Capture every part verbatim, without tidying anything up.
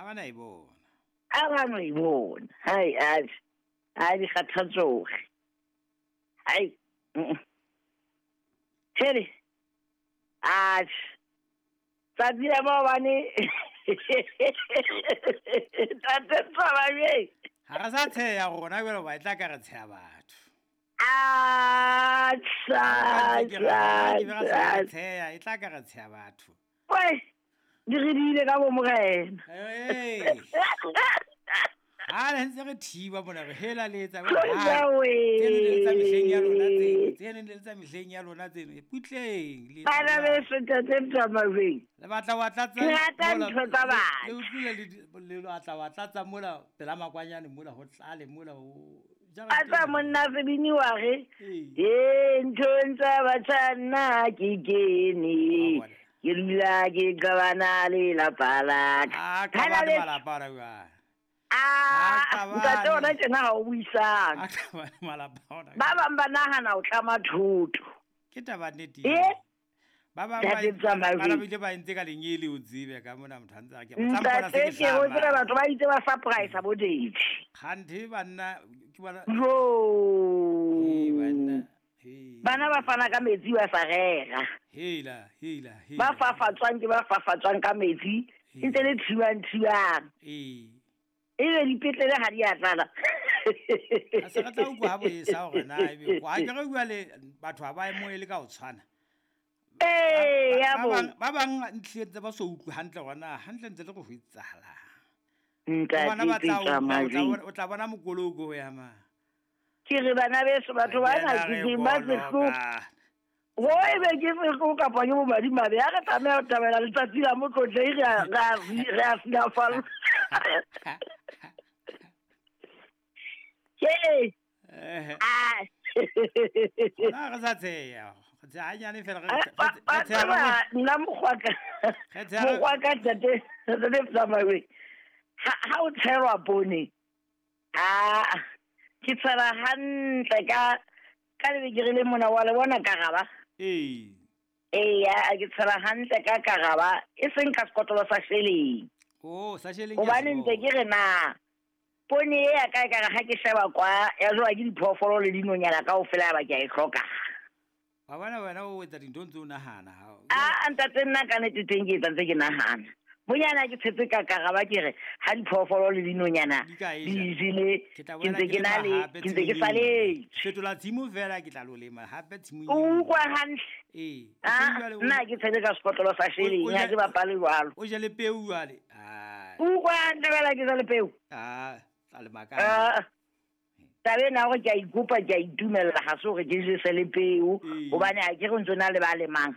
Ha ba na e bona. A ba no e bona. Hai a a di kgathatsoge. Hai. Tshele. A tsatsi la maobane tate Tsamabeng. Ha re sa tsheya rona jwale hoba e tla ka re tsheya batho. A tsa tsa tsheya e tla ka re tsheya batho. Wai di re diile ka bo morena. Eh. Ha le ntse re thiba mona re hela le etsa ba. Tseno le tsa mehleng ya lona tseno, tseno le tsa mehleng ya lona tseno. Putleng le. Bana beso tate Tsamabeng. Le batla wa tlatsa. Ke rata ntho tsa batho. Le utlwile le le batla wa tlatsa mola pela makwanyane mola ho tlale mola ho. A tsa monna sebini wa re. Eh ntho tsa batjha nna ke kene. Ke dula ke qabana le lapa la ka. Ah, qabana le malapa la ka. Ah, ntate ona tjena ha o buisang. A qabana malapa ona. Ba bang ba nahana o tlama thoto. Ke taba nnete. Eh? Ba bang ba ba bile ba entse ka lenyele o tsebe ka mona motho a ntse a ke tla mpona se ke hlama. Ntate ke o batho ba itse ba surprise bo date. Kganthe banna ke bona. Jo. Eh banna. Hey. Bana ba fana ka metsi ba sa rera. Hela, hela, hela. Ba fafatswang ke ba fafatswang ka metsi, ntse le thiwang thiwang. Eh. Ebe dipetlele ha di a tlala. A se re tla utlwa ha bo esa hore na ebe kwa ke re bua le batho ha ba e moele ka ho tshwana. Eh, ya bo. Ba bang ntlheng tse ba so utlwe hantle hore na hantle ntse le go ho etsahala. Ntate tla o tla bona mokoloko ho ya ma. Ke re bana beso batho ba na ke ba sehloho. Ho ebe ke sehloho kapa ke bomadimabe ha re tlameha ho thabela letsatsi la motlotlei re a re a silafalla. Ke ah na re sa tsheya re tsheya hanyane fela re tsheya nna mokgwa ka mokgwa ka tate tate Tsamabeng ha o tshelwa poone ah ke tshela hantle ka ka lebekere le mona wa le bona karaba. Ee. Eya, ke tshela hantle ka karaba e seng ka sekotlolo sa sheleng. Oh, sa sheleng. Hobane ntse ke re na poone e ya ka e kare ha ke sheba kwa ya jowa ke diphoofolo le dinonyana kaofela ba ke a e hloka. Wa bona wena o etsa dintho ntse o nahana ha. Ah, ntate nna ka nnete teng ke etsa ntse ke nahana. Bonyana ke tshetse ka karaba ke re ha diphoofolo le dinonyana di jele ke ntse ke na le ke ntse ke saletse. Fetola tshimo fela ke tla lo lema hape tshimong. O utlwa hantle. Ee. Nna ke tshetse ka sekotlolo sa sheleng ha ke bapale jwalo. O jele peo jwale. Ah. O utlwa hantle fela ke jele peo. Ah, tla lema ka. Ah. Taba ena hore ke a ikopa ke a itumella ha se hore ke jese le peo hobane ha ke re ntse na le ba lemang.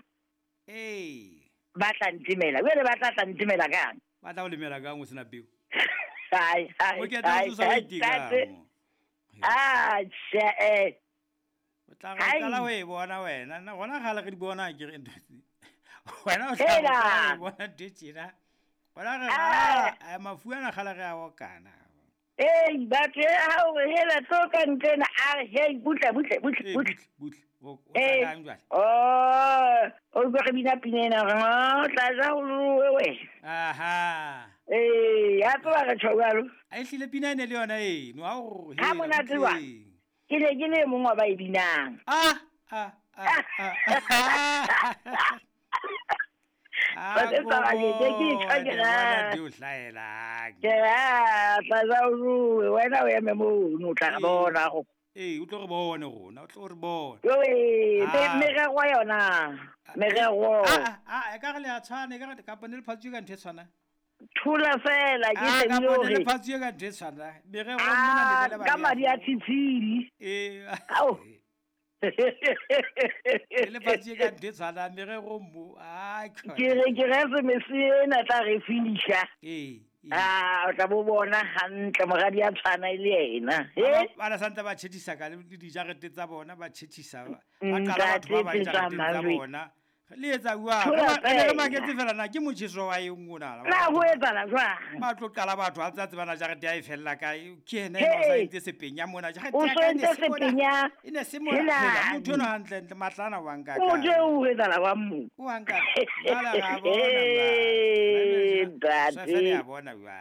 Ee. Ba tla ntemela jwale ba tla tla ntemela kang? Ba tla o lemela kang o sena peo? Hai hai. O ke tla o sa itekang. Ah, tjhe eh. O tla re qala ho e bona wena. Nna gona kgale re di bona ke re ntho tse. Wena o tla e bona ntho tjena. Bona re a mafu ana kgale re a okana. Ei, batho ha o re hela tlo ka ntlena a re hei butle butle butle butle butle. O tla kang jwale? Oh, o utlwa re bina pina ena re o tla ja ho ruwe wena. Aha. Eh, ya tseba re tjho jwalo. A ehlile pina ene le yona eno ha o ha monate wa. Ke ne ke le mong wa ba e binang. Ah ah ah ah. Ah, ke ke ke ra di o hlaelang. Ke a tla ja ho ruwe wena o eme mono o tla re bona go. Ee, o tlo re bone rona, o tlo re bone. Ee, merero yona, merero. Ah, ah, e ka re le a tshwana, e ka re kapa ne le phatsuwe ka ntho e tshwanang. Thola fela ke Ah, kapa ne le hore. phatsuwe ka ntho e tshwanang. Merero mona Ah, le le ba. ka madi a tshitshidi. Ee. Ao. Le le phatsuwe ka ntho e tshwanang, merero mo. Ah, Ke re ke re semese ena tla re fihla. Ee. Ah, o tla bo bona hantle moradi a tshwana e le yena. Eh? Ba ba santse ba tjhetjhisa ka le dijarete tsa bona ba tjhetjhisa ba qala batho ba ba dijareteng tsa bona. Le etsa jwang? Re ne re maketse fela na ke motjheso wa eng ona. Na ho etsahala jwang? Ba tlo qala batho ha ntse tsebana jarete ya e fella kae. Ke yena eno sa entse sepenya mona. Jarete O ya so ka e ne entse se mona. sepenya. E ne se mona. Hela. Hela, motho enwa hantle ntle matlana wa nka O kae. je o etsahala wa mo. O wa nka. Jwale ra bona Eh, jwale. ntate. Sefene ya bona jwale.